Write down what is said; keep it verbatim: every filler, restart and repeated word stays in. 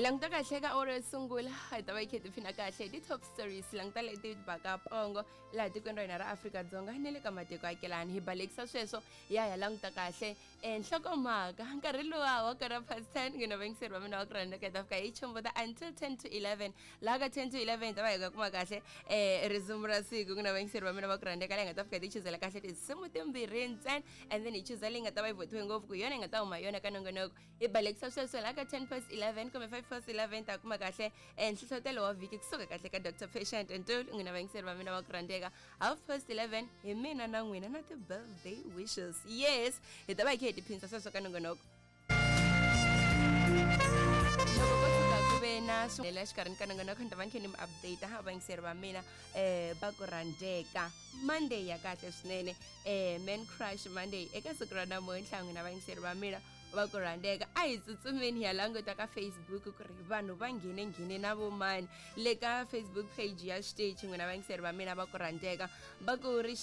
Hi languta kahle ka awara yo sungula, hi ta va hi kha hi tiphina kahle hi ti-top stories, languta leti baka pongo laha tikweni ra hina ra Afrika-Dzonga ni le ka matiko akelani. Hi balekisa sweswo, hi ya hi ya languta kahle e nhlokomhaka nkarhi luwa wa kora past ten. N'wina vayingiseri va mina wa ku rhandzeka, hi ta fika hi chombuta until ten to eleven. Laha ka ten to eleven hi ta va hi ka kuma kahle um risimu ra siku. N'wina vayingiseri va mina va ku rhandzeka, laha hi nga ta fika hi ti chuzela kahle tinsimu timbirhi ntsena, and then hi chuza leyi nga ta va yi votiwe ngopfu ku hi yona hi nga ta huma yona ka nongonoko. Hi balekisa sweswo laha ka ten past eleven kumbe five past eleven, ta kuma kahle um nhlohlotelo wa vhiki kusuka kahle ka Doctor Patient Ntuli. N'wina vayingiseri va mina va ku rhandzeka, half past eleven hi mina na n'wina na ti-birthday wishes. Yes, hi ta va hi kha hi tiphinsa sweswo ka nongonoko. Loko ko tshuka ku ve na swela exikarhini ka nongonoko, ni ta va ni kha ni mi update ha vayingiseri va mina um va ku rhandzeka. Monday ya kahle swinene, um man crush Monday eka siku ra namuntlha. N'wina vayingiseri va mina va ku rhandzeka, a hi tsutsumeni hi ya languta ka Facebook ku ri vanhu va nghene nghene na vomani le ka Facebook page ya xiteji. N'wina vayingiseri va mina va ku rhandzeka, va ku ri